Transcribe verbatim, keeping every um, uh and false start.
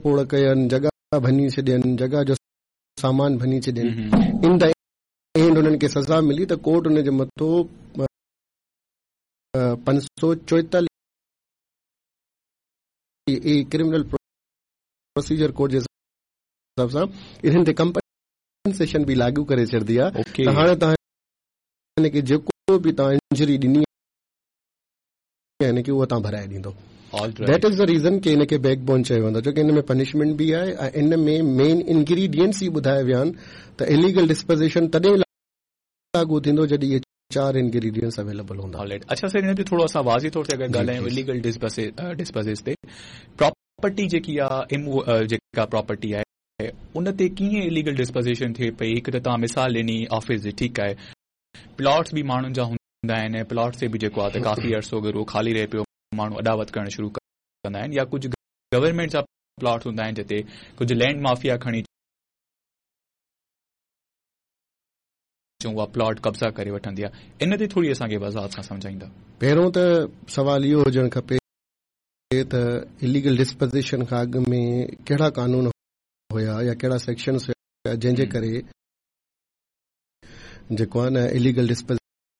ڦوڙ ڪين، جڳهه ڀڃي ڇڏين، جڳهه جو سامان ڀڃي ڇڏين، ان the and انهن کي سزا ملي ته ڪورٽ ان جي مٿو پنج سؤ چوئيتاليهه اي ڪرمنل پروسيجر ڪوڊ جي حساب سان انهن تي ڪمپنسيشن به لاڳو ڪري ڇڏندي آهي ته هاڻي توهان هن کي جيڪو به توهان انجري ڏني آهي هن کي اها توهان ڀرائي ڏيندو. That is the reason ڪي هن کي بيڪ بون چيو ويندو آهي، ڇو ڪي هن ۾ پنشمينٽ به آهي ۽ ان ۾ مين انگريڊينٽس ئي ٻڌايا ويا آهن ته اليگل ڊسپوزيشن تڏهن لاڳو ٿيندو جڏهن اهي چار انگريڊينٽس اويليبل هوندا. آل رائٽ، اڇا سر، هن تي ٿورو اسان واضح طور تي اگر ڳالهايون اليگل ڊسپوزيشن تي، پراپرٽي جيڪي آهي، جيڪا پراپرٽي آهي ان تي ڪيئن اليگل ڊسپوزيشن ٿئي پئي؟ هڪ ته توهان مثال ڏني آفيس جي، ٺيڪ آهي، پلاٽس به ماڻهن جا هوندا آهن، پلاٽس تي به جيڪو آهي ته ڪافي عرصو اگر اهو خالي رهي پيو، ماڻهو اڏاوت ڪرڻ شروع ڪندا آهن، يا ڪجهه گورنمينٽ جا پلاٽس هوندا آهن جتي ڪجهه لينڊ مافيا کڻي چون اها پلاٽ قبضا ڪري وٺندي آهي. ان تي ٿوري اسان کي وضاحت سان سمجهائيندا. پهريون ته سوال اهو هجڻ کپي ته اليگل ڊسپوزيشن کان اڳ ۾ ڪهڙا قانون هيا يا ڪهڙا سيڪشنز هيا جنهن جي ڪري جيڪو آهي نه اليگل ڊسپوزيشن